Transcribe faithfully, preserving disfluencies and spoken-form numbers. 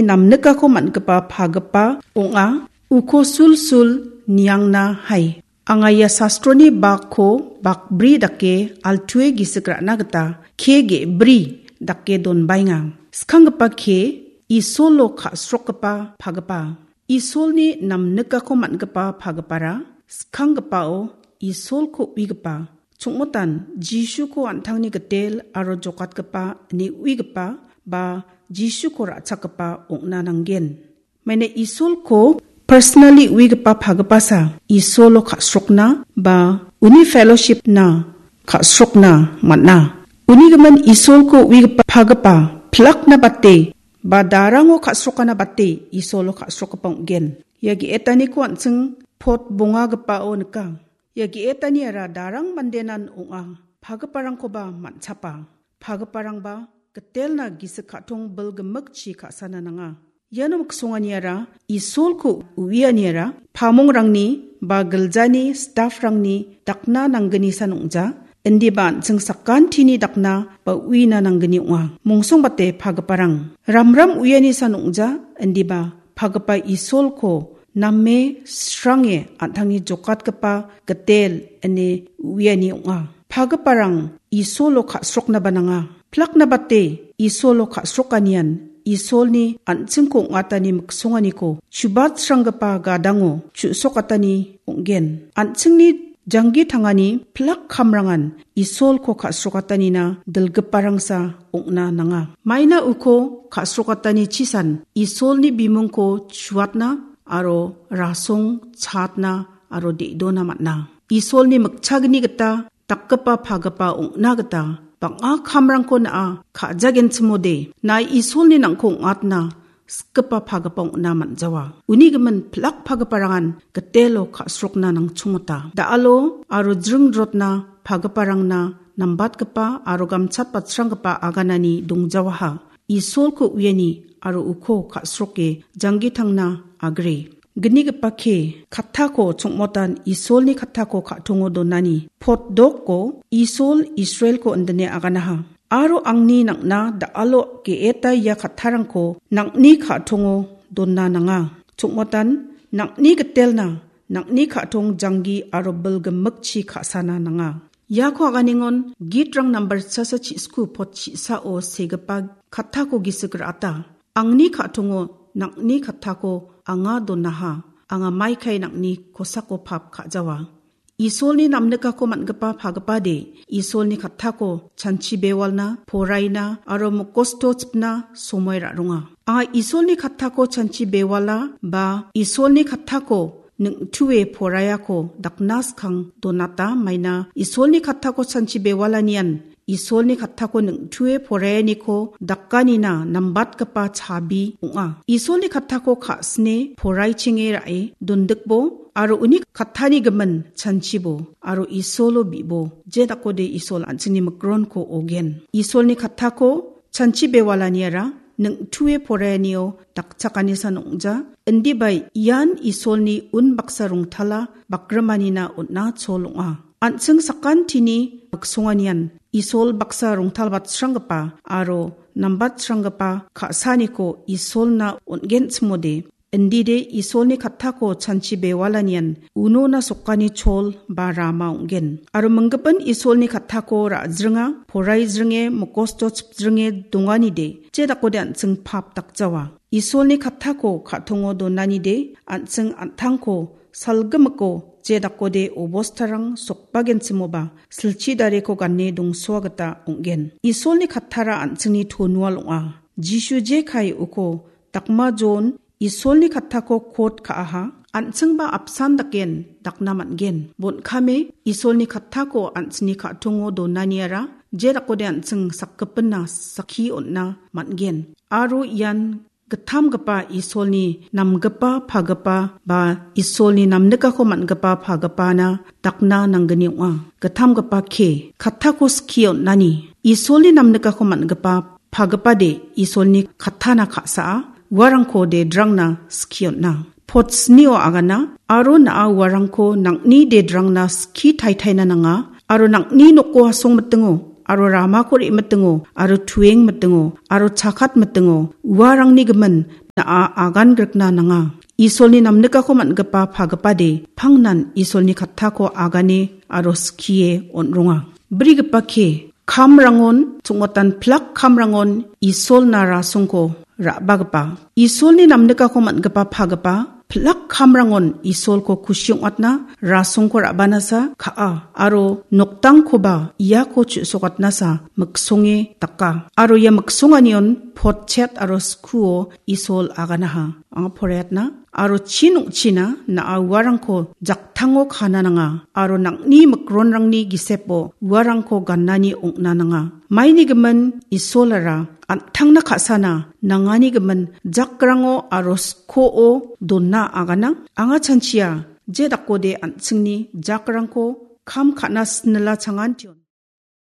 namnikako man·gipa pagipa ong·a. Uko sulsul niangna hai. Anga ia sastroni bakko bakbri dake altue gisik ra·na gita ke ge·bri dake donbaenga. Skanggipa ke Isolo ka·srokgipa pagipa. Isolni namnikako man·gipa pagipara skanggipao Isolko uigipa. Chongmotan Jisuko an·tangni gitel aro jokatgipa ine uigipa ba Jisuko ra·chakgipa ong·na nanggen. Maina Isolko personally uigipa pagipasa Isolo ka·srokna ba uni fellowshipna ka·srokna man·a. Uni gimin Isolko uigipa pagipa pilakna bate ba darango ka·srokana bate Isolo ka·srokgipa ong·gen. Ia ge·etaniko an·ching pot bongagipao nika. Ia ge·etaniara darang mandenan ong·a, pagiparangkoba man·chapa. Pagiparangba gitelna gisik ka·tong bilgimikchi ka·sana nanga. Iano miksonganiara Isolko uianiara pamongrangni ba giljani stafrangni dakna nanggnisan ong·ja, indiba an·ching sakantini dakna ba uina nanggni ong·a. Mongsongbate pagiparang ramram uianisan ong·ja, indiba pagipa Isolko name srange an·tangni jokatgipa gitel ine uiani ong·a. Pagiparang Isolo ka·sroknaba nanga. Pilakna bate Isolo ka·srokanian Isolni an·chingko ong·atani miksonganiko chubatsranggipa gadango chu·sokatani ong·gen. An·chingni janggi tangani pilak kamrangan Isolko ka·srokatanina dilgiparangsa ong·na nanga. Maina uko ka·srokatani chisan Isolni bimungko chuatna aro rasong chaatna aro de·dona man·a. Isolni mikchagni gita dakgipa pagipa ong·na gita bang·a kamrangko na·a ka·jagenchimode, nai Isolni nangko ong·atna sikgipa pagipa ong·na man·jawa. Uni gimin pilak pagiparangan gitelo ka·srokna nangchongmota. Da·alo aro jringrotna pagiparangna nambatgipa aro gamchatbatsranggipa aganani dongjawaha. Isolko uiani aro uko ka·sroke janggitangna agre. Gnigipa ke kattako chongmotan Isolni kattako ka·tongo donani. Potdoko Isol Israelko indine aganaha. Aro angni nang·na da·alo ge·eta ia kattarangko nang·ni ka·tongo donna nanga. Chongmotan nang·ni gitelna, nang·ni ka·tong janggi aro bilgimikchi ka·sana nanga. Iako aganengon Gitrang nambar chasa chisku pot chisao segipa kattako gisik ra·ata. Angni ka·tongo nang·ni kattako anga donaha. Anga maikai nang·ni kosako pap ka·jawa. Isolni namnikako man·gipa pagipade, Isolni kattako chanchi bewalna, poraina aro mokosto chipna somoi ra·ronga. Anga Isolni kattako chanchi bewala ba Isolni kattako ning·tue poraiako dakna skang donata maina Isolni kattako chanchi bewalanian Isolni kattako ning·tue poraianiko dakanina nambatgipa chabi ong·a. Isolni kattako ka·sine poraichenge ra·e dondikbo aro uni kattani gimin chanchibo aro Isolo bi·bo, je dakode Isol an·chingni mikronko ogen. Isolni kattako chanchi bewalaniara ning·tue poraianio dakchakanisan ong·ja. Indiba ian Isolni unbaksa rongtala bakrimanina on·a chol ong·a. An·ching sakantini miksonganian Isol baksa rongtalbatsranggipa aro nambatsranggipa ka·saniko Isolna on·genchimode, indide Isolni kattako chanchi bewalanian unona sokani chol ba rama ong·gen. Aro minggipin Isolni kattako ra·jringa, poraijringe, mokosto chipjringe donganide, je dakode an·ching pap dakjawa. Isolni kattako ka·tongo donanide an·ching an·tangko salgimiko je dakode obostarang sokbagenchimoba silchi dareko gane dongsoa gita ong·gen. Isolni kattara an·chingni tonual ong·a. Jisu je kae uko dakma Jon Isolni kattako kot ka·aha, an·chingba apsan daken dakna man·gen. Bon·kame Isolni kattako an·chingni ka·tongo donaniara je dakode an·ching sakgipinna sakki on·na man·gen. Aro ian gittamgipa Isolni namgipa pagipa ba Isolni namnikako man·gipa pagipana dakna nanggni ong·a. Gittamgipa ke, kattako skie on·ani. Isolni namnikako man·gipa pagipade Isolni kattana ka·saa, uarangko de drangna skie on·a. Pot snio agana, aro na·a uarangko nang·ni de drangna skie taitaina nanga, aro nang·ni noko asong mitingo, aro ramako re·mitingo, aro tueng mitingo, aro chakat mitingo, uarangni gimin na·a agan grikna nanga. Isolni namnikako man·gipa pagipade pangnan Isolni kattako agane aro skie on·ronga. Brigipa ke, kamrangon, chongmotan pilak kamrangon Isolna rasongko ra·bagipa. Isolni namnikako man·gipa pagipa pilak kamrangon Isolko kusi ong·atna rasongko ra·banasa ka·a, aro noktangkoba iako chu·sokatnasa miksonge daka. Aro ia miksonganion potchet aro skuo Isol aganaha. Anga poraiatna. Aro chin ong·china na·a uarangko jaktango kana nanga, aro nang·ni mikronrangni gisepo uarangko ganani ong·na nanga. Maini gimin Isolara an·tangna ka·sana nangani gimin jakrango aro skoo dona agana. Anga chanchia je dakode an·chingni jakrangko kam ka·na snila changantion.